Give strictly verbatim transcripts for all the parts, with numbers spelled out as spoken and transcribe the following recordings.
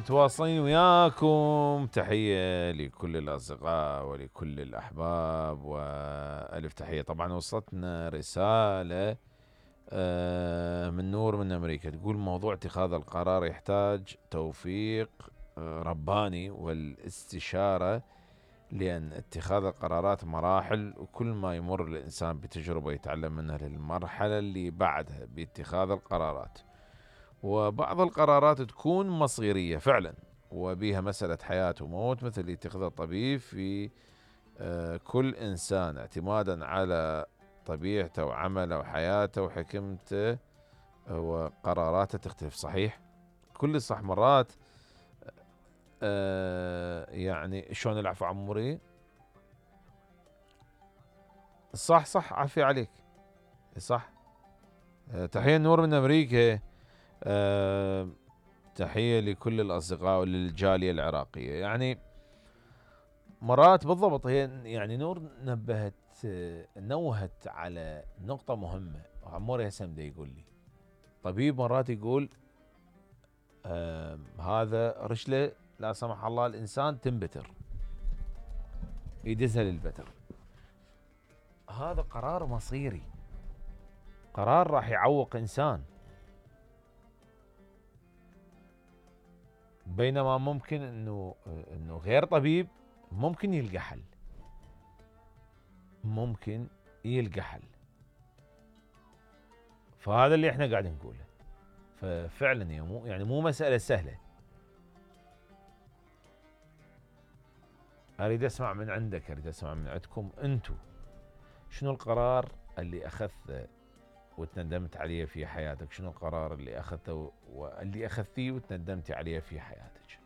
متواصلين وياكم. تحية لكل الأصدقاء ولكل الأحباب وألف تحية. طبعا وصلتنا رسالة من نور من أمريكا تقول موضوع اتخاذ القرار يحتاج توفيق رباني والاستشارة، لأن اتخاذ القرارات مراحل، وكل ما يمر الإنسان بتجربة يتعلم منها للمرحلة اللي بعدها باتخاذ القرارات. وبعض القرارات تكون مصيرية فعلا وبيها مسألة حياة وموت، مثل اللي يتخذها الطبيب في كل إنسان اعتمادا على طبيعته وعمله وحياته وحكمته وقراراته تختلف. صحيح، كل صح. مرات آه يعني شلون العفو عموري؟ صح صح، عافية عليك. صح. آه تحية نور من أمريكا. آه تحية لكل الأصدقاء وللجالية العراقية. يعني مرات بالضبط هي يعني نور نبهت نوهت على نقطة مهمة. عموري هسه بده يقول لي طبيب مرات يقول آه هذا رشلة لا سمح الله الإنسان تنبتر يدزها للبتر. هذا قرار مصيري، قرار راح يعوق إنسان، بينما ممكن انه انه غير طبيب ممكن يلقى حل، ممكن يلقى حل. فهذا اللي احنا قاعد نقوله. ففعلا مو يعني مو مسألة سهلة. اريد اسمع من عندك، اريد اسمع من عندكم انتم، شنو القرار اللي اخذته وتندمت عليه في حياتك؟ شنو القرار اللي اخذته واللي اخذتيه وتندمتي عليه في حياتك؟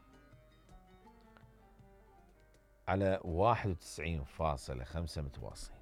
على واحد وتسعين فاصلة خمسة متواصلين.